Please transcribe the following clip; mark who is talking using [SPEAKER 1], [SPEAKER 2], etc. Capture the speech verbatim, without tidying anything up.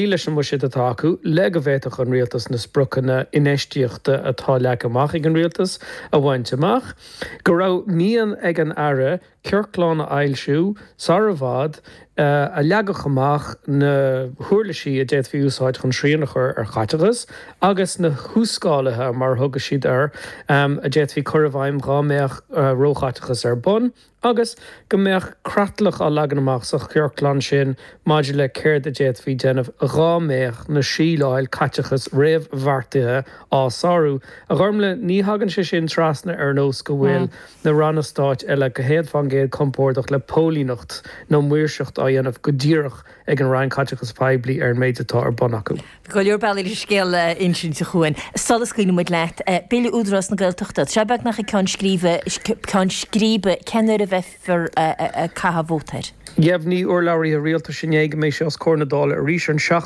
[SPEAKER 1] leis an mbuiséad atá acu le go bhféadfadh an rialtas na spriocanna infheistíochta atá leagtha amach ag an rialtas a bhaint amach, go raibh mian ag an Aire ciorclán a fhoilsiú sar i bhfad a leagfadh amach na huirlisí a d'fhéadfaí a úsáid chun srian a chur ar chaiteachas agus na huas-scáluithe, mar a thug siad air, a d'fhéadfaí cur i bhfeidhm dhá mbeadh róchaiteachas ar bun. agus go mbeadh creatlach á leagan amach sa chiorclán sin maidir le céard a d'fhéadfaí déanamh dhá mbeadh na síleáil caiteachais réamhbheartaithe á sárú. A Ghormlaith, ní thagann sé sin trasna ar nós go bhfuil na ranna stáit eile go céad fán gcéad compordach le póilíneacht nó maoirseacht á dhéanamh go díreach ag an Roinn Caiteachais Poiblí ar an méid atá ar bun acu.
[SPEAKER 2] Go leor bealaí leis an scéal a insint, a Chuain. Sula scaoileann muid leat, Bille Údarás na Gaeltachta, tá sé beagnach ag ceann scríbe, ceann scríbe, cén uair a bheifear ag caitheamh vóta air?
[SPEAKER 1] Dheimhnigh urlabhraithe rialtais inné go mbeidh sé os comhair na Dála arís an seachtú